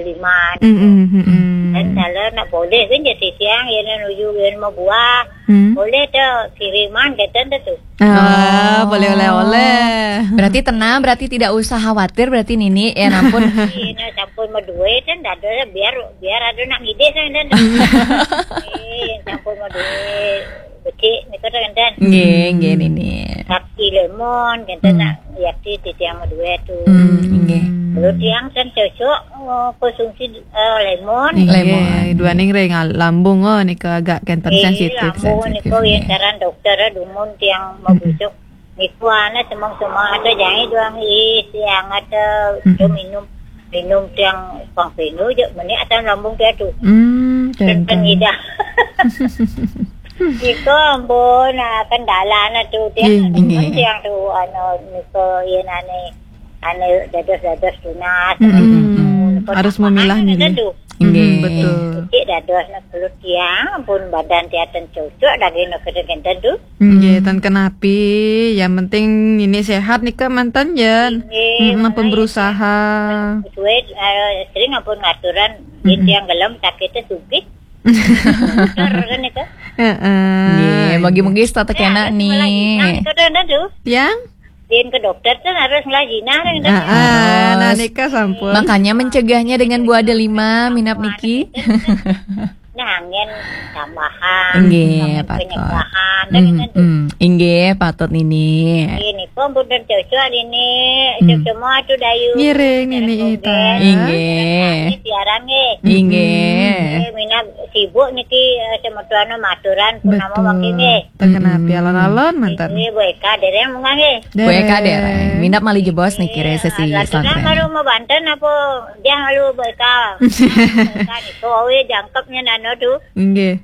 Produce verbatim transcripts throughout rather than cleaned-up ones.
Lima. Mm, mm, mm, mm. Dan kalau nak boleh kan jadi tiang, ya nak nuju, ya mau buah. Hmm. Boleh dah kiriman, kata dah tu. Ah, boleh oleh-oleh. Berarti tenang, berarti tidak usah khawatir, berarti Nini, ya ampun. Iya, nak campur sama duit kan, dah ada, biar, biar ada nak ngidih kan, dan. Eh, campur sama duit. Becik, ni kata kan, dan. Nggih, nggih, Nini. Sakti lemon, kata nak, ya, ti, ti tiang sama duit tu. Hmm, nggih. Kalau tiang kan cocok, oh, konsumsi, eh, lemon. Nggih, lemon. Duaning ring lambung, oh, nika agak kenten sensitif, lambung sensitif, nika, nggih. Yang saran dokter, eh, dumun tiang mau busuk. Niku ana semang-semang ada jangan doang, ih, siang ada, tu minum, minum tiang pang pinu je, meni asam lambung dia tu. Hmm, kenten. Kenten idah. Niku ampun, ah, kendala na tu tiang, nggih, tiang tu, anu, niku, iya, nane, anu, dados-dados tunas. Mm-mm. Niku harus memilah-milah. Nggih. Betul. Cik dados nak perlu tiang, pun badan tiang ten cocok, daging nak kena kenten tu. Nggih, ten kenapi. Yang penting ini sehat nika mantan, Jen. Nggih, mm, ampun berusaha. Sesuai, eh, sering ampun ngaturan, mm-mm, tiang gelem sakit tu sugih. Bener kan itu? Heeh. Nggih, bagi-bagi start kena ni. Nah, itu dah, dah tu. Yang? Din ke dokter tu harus ngelah jinah dah. Heeh, nah, harus. Nika sampun. Makanya mencegahnya dengan buah delima, minap niki. Nah, angin tambahan, nggih, angin patut. Penyegahan, dan mm, itu. Mm, inggih, patut Nini. Ini pun bukan cocok ini, mm, semua tu dayu. Ngiring, Nini Ita. Inggih. Ini siaran, nggih. Inggih. Eh, minat sibuk niki, eh, semetuana maturan pun nama, betul, wakil, nggih. Terkena, mm-mm, alon-alon mantan. Ini Bu Eka dereng munggah, nggih. Bu Eka dereng. Dereng. Minat malih jebos niki, iya, sesi lagi kan santren. Baru mau Banten apa? Dia malu Bu Eka. Bu Eka niku, oh, iya, jangkepnya nano tu. Inggih.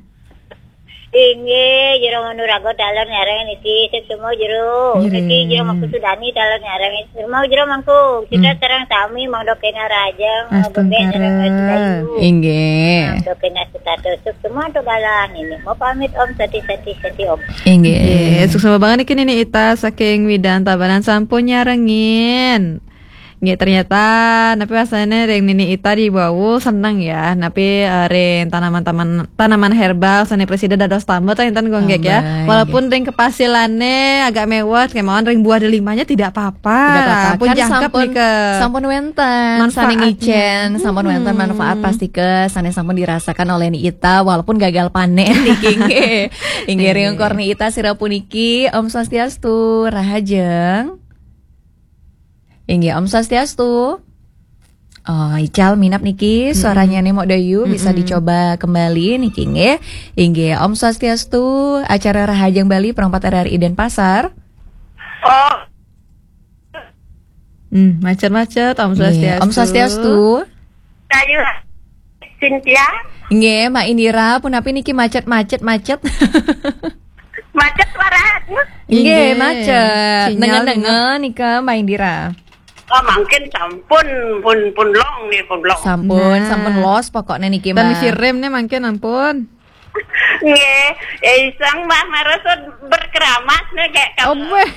Inggih, jero Manuraga taler nyareng niki, sik semua jero. Nggih. Niki jero Mangku Sudani taler nyareng, semua jero Mangku. Kita, hmm, sareng sami mangda kena rahajeng, astungkara, bebek sareng Raja Bayu. Inggih. Mangda kena setatusuk semua tu galan ini. Mau pamit, Om, sati, sati, sati, Om. Inggih. Nggih, suksma banget niki Nini Ita saking Widang Tabanan sampun nyarengin. Nggih, ternyata napi wasane ring Nini Ita di wau seneng ya. Napi, eh, ring tanaman-taman, tanaman herbal sane presida dados tambah to enten gonggek ya. Tambah, walaupun, nggih, ring kepasilane agak mewah, kemawon ring buah delimanya tidak apa-apa. Tidak apa-apa. Ampun, kan jangkep sampun, nika, sampun wenten sane manfaatnya. Ngicen, sampun wenten, hmm, manfaat pasti ke sane sampun dirasakan oleh Nini Ita walaupun gagal panen niki, nggih. Inggih, nggih, ring kor Nini Ita sira puniki, Om Swastiastu, rahajeng. Inggih, Om Swastiastu. Oh, ical minap niki, mm-mm, suaranya nih Mok Dayu, bisa, mm-mm, dicoba kembali niki nggih. Inggih, Om Swastiastu, acara Rahajeng Bali, Pro empat R R I Denpasar. Oh. Hmm, macet-macet, Om, nggih, Swastiastu. Om Swastiastu. Dayu, Cynthia. Nggih, Mak Indira, punapi niki macet-macet, macet? Macet suaranya? Nggih, nggih, macet. Sinyal nengah-nengah nika, Mak Indira. Oh, mungkin sampun, pun, pun long nih, pun long. Sampun, nah, sampun los pokoknya niki, Mbak. Tan sirim nih mungkin ampun. Nggih, ya iseng, Mbak, marasa berkeramas nih kayak, oh, kamu. Weh.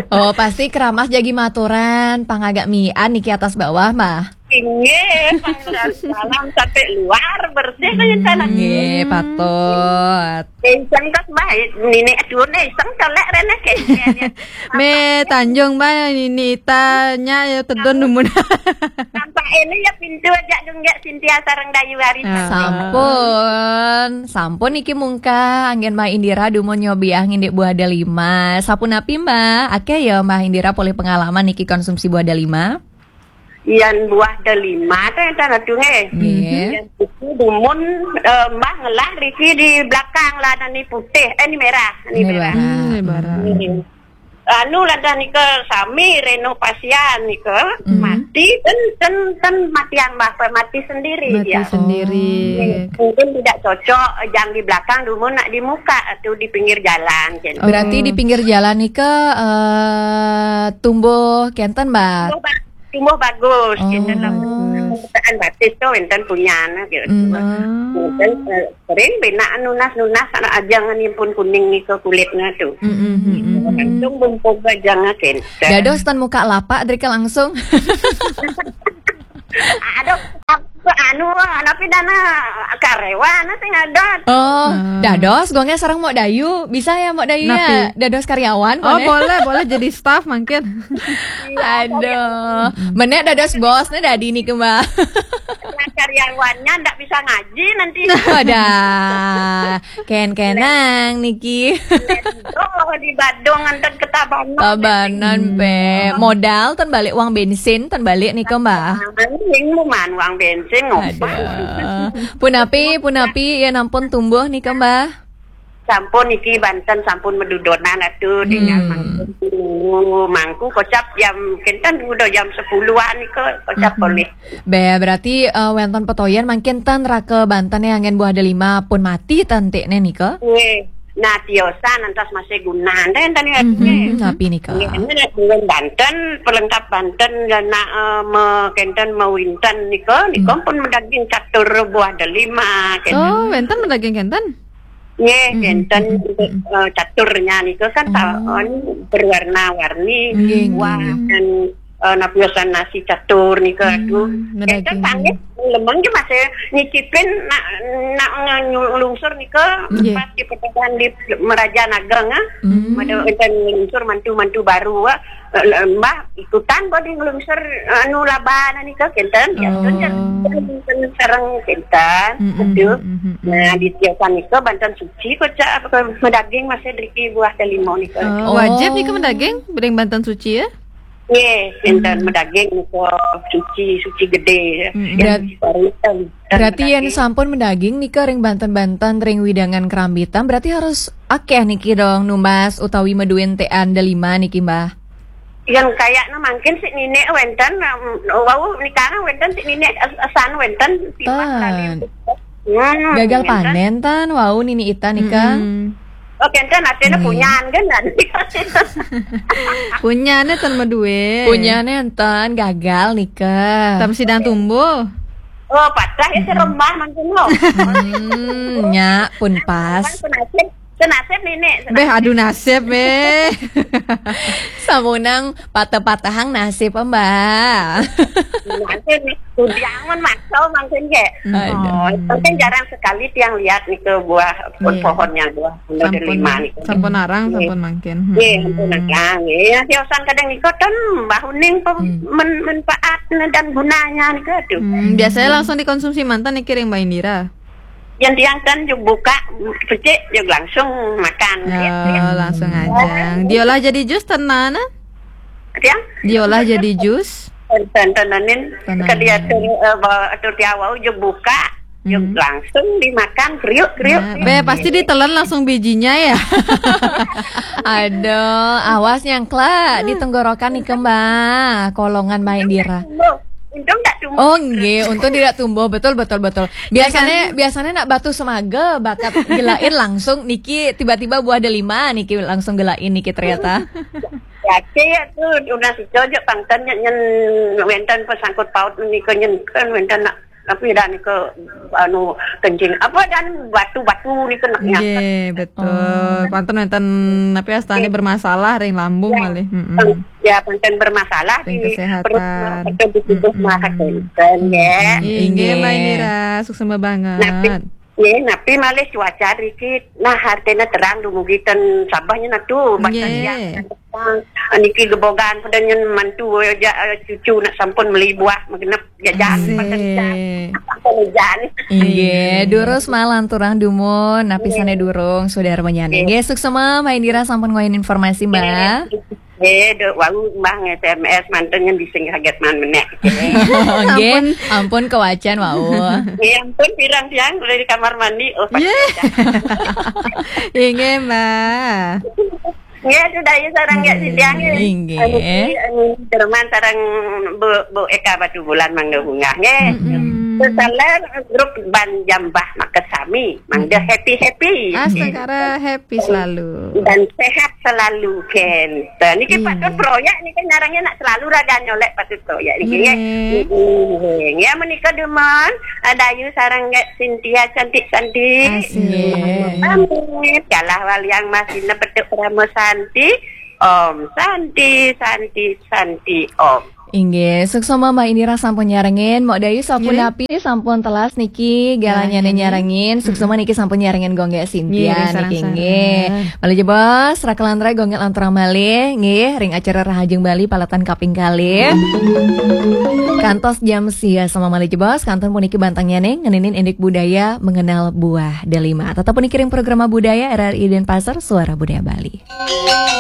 Oh, pasti keramas jagi maturan, pang agak mian niki atas bawah, Mbak. Inggih, pangeran salam sampai luar bersih kalian sana. Nggih, patut. Iseng kok, Mbak, nini aduh nih, iseng colek rene kayaknya. Me Tanjung, Mbak, nini tanya ya tedon dumun. Nampak ini ya pintu aja dong ya, Cynthia sareng Dayu hari. Ah. Sampun, sampun iki mungkah anggen Mbak Indira dumun nyobiah ngindik buah delima. Sapunapi, Mbak? Akeh ya Mbak Indira polih pengalaman niki konsumsi buah delima? Yan buah delima teh enten atuh nggih. Nggih. Yan itu dumun, eh, Mbah ngelah riki di belakang lah, ni putih, eh, ni merah, ni merah. Ni merah. Hmm, ni merah. Nggih. Anu ladah nika sami renovasian nika, mhm, mati ten, ten, ten matian Mbah, mati sendiri. Mati dia. Sendiri. Nggih. Mungkin tidak cocok, yang di belakang dumun nak di muka atau di pinggir jalan, gitu. Berarti di, oh, pinggir jalan nika, eh, tumbuh kenten, Mbak? Tumbuh ba-, tumbuh bagus, oh, gitu lah. Bagus. Pemetaan batis tu enten punya anak, gitu. Hmm. Enten, eh, sering bina nunas-nunas anak ajang ni pun kuning ni ke kulitnya tu. Mm, mm, mm, mm, mm. Langsung bumpoga jangan kenten. Dados ten muka lapak drika langsung. Aduh, apa anu, tapi dana karyawan sing ada. Oh, dados, gongnya sareng Mok Dayu. Bisa ya, Mok Dayu, ya? Dados karyawan, oh, boleh, boleh jadi staff mungkin. Aduh, menek dados bosnya dadi nih, Mbak. Nah, karyawannya ndak bisa ngaji nanti. Wadah, ken-kenang niki. Oh, di Badung antar ke Tabanan. Tabanan, be. Modal ten balik uang bensin, ten balik nih, Mbak. Yang lumayan uang bensin, ngopah. Aduh. Punapi, punapi, ya nampun tumbuh nih, Mbak. Sampun niki Banten sampun medudonan atuh dengan mangku, mangku kocap jam kenten udah jam sepuluhan nika kocap boleh. Be, berarti, eh, wenten petoyan mangkin ten raka Banten yang anggen buah delima pun mati ten tikne nika. Nggih. Nah, tiosan antas masih gunaan ten tadi artinya. Napi nika? Nggih, ini dengan Banten, pelengkap Banten dan nak, eh, me, kenten mewinten nika, nika pun medaging catur buah delima kenten. Oh, wenten medaging kenten? Nggih, kenten, eh, caturnya nika kan ta-, anu, berwarna-warni. Nggih, nggih, buah nggih. Dan, eh, napi usan nasi catur nika, aduh. Kenten medaging. Sanget lemeng ki masih nyicipin nak, nak ngelungsur nika. Nggih. Pas di pertemuan di Meraja Nagang, ah. Ada kenten ngelungsur mantu-mantu baru, ah. Eh, Mbah, ikutan bodi ngelungsur, anu, laban nika kenten, ya, kenten sareng kenten. Aduh. Nah, di tiap nika Banten suci kocap apa medaging masih driki buah delima nika. Oh, wajib nika medaging, bedeng Banten suci ya? Nggih, kenten medaging nika suci, suci gede ya. Yang berat-, suci paritan. Berarti yang sampun medaging nika ring Banten-Banten, ring widangan kerambitan, berarti harus akeh niki dong numbas utawi meduin tean delima niki, Mbah. Yang kayaknya mungkin si Nini wenten, em, wau nikana wenten si Nini as-, asan wenten tiwas kali. Gagal panen tan wau Nini Ita nika. Oh, kenten artinya punyan kan nanti. Punyane tan medue. Punyane enten gagal nika. Tam sidang tumbuh. Oh, patah ya serembah mungkin lo. Hmm, nya pun pas. Senasib, senasib Nini. Beh, aduh nasib, beh. Samunang patah-patahang nasib, Mbak. Nasib nih, udah aman makso mungkin ya. Aduh. Oh, mungkin jarang sekali tiang lihat nih ke buah pohonnya, buah buah delima nih. Sampun arang, sampun mangkin. Iya, sampun arang. Iya, tiosan kadang nih koten bahuning men-, manfaat dan gunanya nih, aduh. Hmm, biasanya langsung dikonsumsi mantan nih kiring Mbak Indira. Yang tiang kan juga buka, pecik juga langsung makan. Oh, langsung aja. Diolah jadi jus tenan, ah? Tiang? Diolah jadi jus. Ten-, tenanin, ke dia tuh, eh, bawa tuh tiawau juga buka, juga langsung dimakan, kriuk, kriuk. Nah, be, pasti ditelan langsung bijinya ya. Aduh, awas nyangkla di tenggorokan nih, Mbak. Kolongan Mbak Indira. Untung tak tumbuh. Oh, nggih, untung tidak tumbuh. Betul, betul, betul. Biasanya, biasanya nak batu semaga, bakat gelain langsung niki tiba-tiba buah delima niki langsung gelain niki ternyata. Ya, ya tuh udah si cocok pangtan nyen wenten pesangkut paut niki nyen kan wenten nak tapi dan ke anu kencing apa dan batu-batu nih kena. Nggih, betul. Pantun wenten tapi astane bermasalah ring lambung malih. Ya, panten bermasalah ring di kesehatan. Perut, atau di tubuh mah kenten, ya. Inggih, Mbak Indira, suksma banget. Napi, ya, napi malih cuaca dikit. Nah, artinya terang dumugi ten sabahnya nah tuh, baca siang. Niki gebogan pada nyen mantu aja, eh, cucu nak sampun meli buah magenep jajan. Asik. Pakai hujan. Pakai hujan. Inggih, durus malan turang dumun, napisane durung, saudara menyane. Nggih, suksma, Mbak Indira sampun ngoyen informasi, Mbak. Eh, dok, wau Mbah S M S manten yang bisa kaget man menek. Nggih, ampun kewacan wau. Eh, ampun pirang tiang dari kamar mandi. Oh, inggih, Mbak. Nggih, sudah ya sarang ya sidang ya. Inggih. Anu, anu, Jerman sarang Bu, Bu Eka Batu Bulan Mangga Bunga nggih. Sesaler grup Ban Jambah Makasami Mangga happy-happy. Astagara happy selalu. Dan sehat selalu kenten. Niki patut proyek niki ngarangnya nak selalu raga nyolek patut proyek niki ya. Nggih. Nggih, menika demen. Adayu sarang nggih Cynthia cantik-cantik. Asik. Amit. Kalah waliang masih nepetuk Parama Santi. Om Santi, Santi, Santi, Om. Inggih, suksma Mbak Indira sampun nyarengin, Mok Dayu sampun Nggih. Napi sampun telas niki galanya Galanya nih. Nyarengin, suksma niki sampun nyarengin Gong Gek Sintian Nggih, niki sareng-sareng. Nggih. Malih jebos, rakelan rai Gong Gek lanturang malih, nggih, ring acara Rahajeng Bali paletan kaping kalih. Kantos jam sia sama malih jebos, kantun puniki bantangnya nih, ngeninin indik budaya mengenal buah delima. Tetap puniki ring programa budaya R R I Denpasar, Suara Budaya Bali.